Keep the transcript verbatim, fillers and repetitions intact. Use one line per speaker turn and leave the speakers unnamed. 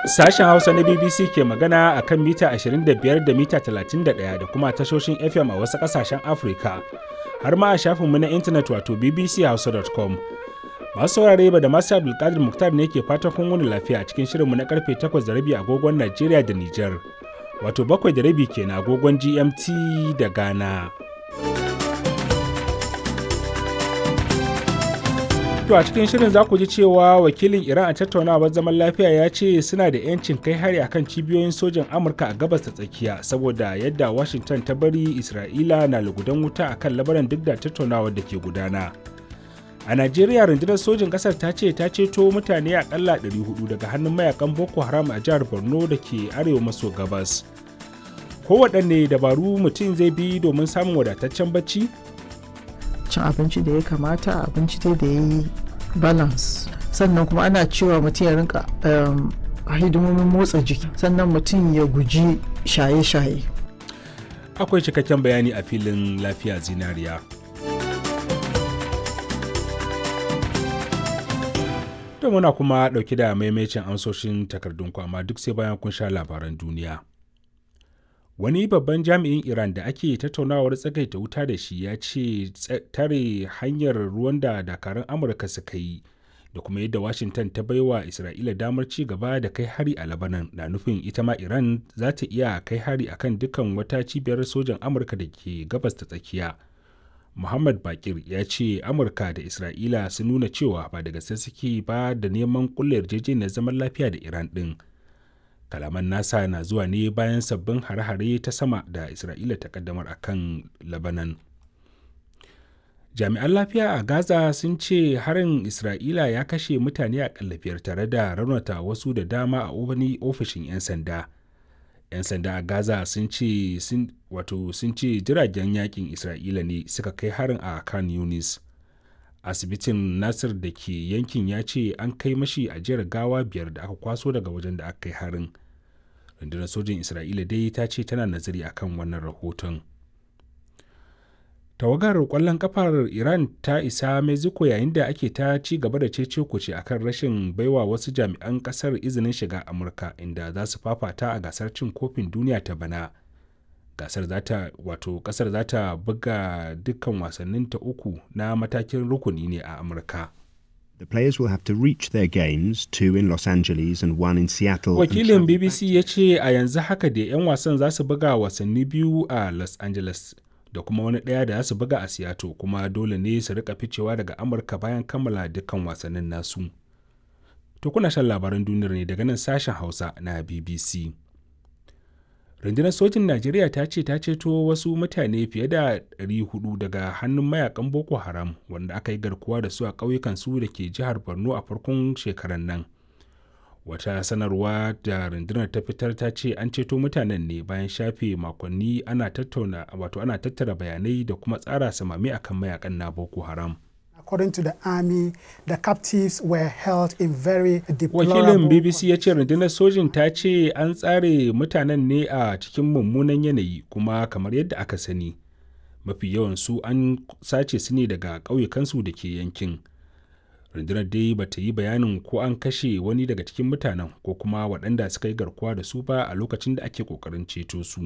Sashen Hausa na B B C ke magana a kan mita ashirin da biyar da mita talatin da ɗaya da kuma tashoshin F M a wasu ƙasashen Afirka, har ma a shafinmu na intanet wato B B C hausa dot com. Masu saurare, ba da masu Abdulkadir Muktar ne ke fatan kun wuni lafiya a cikin shirinmu na karfe takwas da rabi agogon Najeriya da Nijar, wato bakwai da rabi kenan agogon G M T da Ghana. To, a cikin shirin za ku ji cewa wakilin Iran a tattaunawar zaman lafiya ya ce suna da 'yancin kai hari akan cibiyoyin sojan Amurka a Gabas ta Tsakiya saboda yadda Washington ta bari Isra'ila na lugudan wuta akan Labaran duk da tattaunawar da ke gudana. A Najeriya, rundunar sojin ƙasar ta ce ta ceto mutane akalla ɗari huɗu daga hannun mayakan Boko Haram a jihar Borno da ke arewa maso gabas. Kowaɗanne dabaru mutum zai bi domin samun wadataccen bacci?
Cin abinci da ya kamata, abinci dai da ya yi balance, sannan kuma ana cewa mutum ya rinka hidimomin motsa jiki, sannan mutum ya guji shaye-shaye.
Akwai cikakken bayani a filin Lafiya Zinariya. To, muna kuma ɗauki da maimacin amsoshin takardunku, amma duk sai bayan kun sha labaran duniya. Wani babban jami'in Iran da ake tattaunawar tsagaita wuta da shi ya ce tare hanyar ruwan da dakarun Amurka suka yi da kuma yadda Washington ta baiwa Isra'ila damar ci gaba da kai hari a Labanan na nufin ita ma Iran za ta iya kai hari akan dukkan wata cibiyar sojan Amurka da ke Gabas ta Tsakiya. Muhammad Bakir ya ce Amurka da Isra'ila sun nuna cewa ba da gaske suke ba da neman kulle yarjejeniyar zaman lafiya da Iran din. Kalaman nasa na zuwa ne bayan sabbin hare-hare ta sama da Isra'ila ta kaddamar a kan Labanan. Jami'an lafiya a Gaza sun ce harin Isra'ila ya kashe mutane a biyar tare da raunata wasu da dama a wani ofishin 'yan sanda. 'Yan sanda a Gaza sun ce wato sun ce jiragen yakin Isra'ila ne suka kai harin a Kan Yunis. Asibitin Nasir da ke yankin ya ce an kai mashi ajiyar gawa biyar da aka kwaso daga wajen da aka kai harin. Rundunar sojin Isra'ila dai ta ce tana nazari akan wannan rahoton. Tawagar kwallon kafar Iran ta isa Mexico yayin da ake ta ci gaba da cece kuce akan rashin baiwa wasu jami'an kasar izinin shiga Amurka, inda za su fafata a gasar cin kofin duniya ta bana. Gasar za ta wato kasar za ta buga dukkan wasannin ta uku na matakin rukuni ne a Amurka.
The players will have to reach their games, two in Los Angeles and one in Seattle.
Wakilin B B C ya ce a yanzu haka da 'yan wasan za su buga wasanni biyu a Los Angeles da kuma wani ɗaya da za su buga a Seattle, kuma dole ne su rika ficewa daga Amurka bayan kammala dukkan wasannin nasu. To, kuna shan labaran duniyar ne daga nan sashen Hausa na B B C. Rundunar sojin Najeriya ta ce ta ceto wasu mutane fiye da ɗari huɗu daga hannun mayakan Boko Haram wanda aka yi garkuwa da su a ƙauyukan su da ke jihar Borno a farkon shekarar nan. Wata sanarwa da rundunar ta fitar ta ce an ceto mutanen ne bayan shafe makonni ana tattauna wato ana tattara bayanai da kuma tsara samami akan mayakan na Boko Haram.
According to the army, the captives were held in very
Wakilin
deplorable
B B C ya ce rundunar sojin ta ce an tsare mutanen ne a cikin mummunan yanayi, kuma kamar yadda aka sani, mafi yawan su an sace su ne daga ƙauyukansu da ke yankin. Rundunar dai ba ta yi bayanin ko an kashe wani daga cikin mutanen ko kuma waɗanda suka yi garkuwa da su ba a lokacin da ake ƙoƙarin ceto su.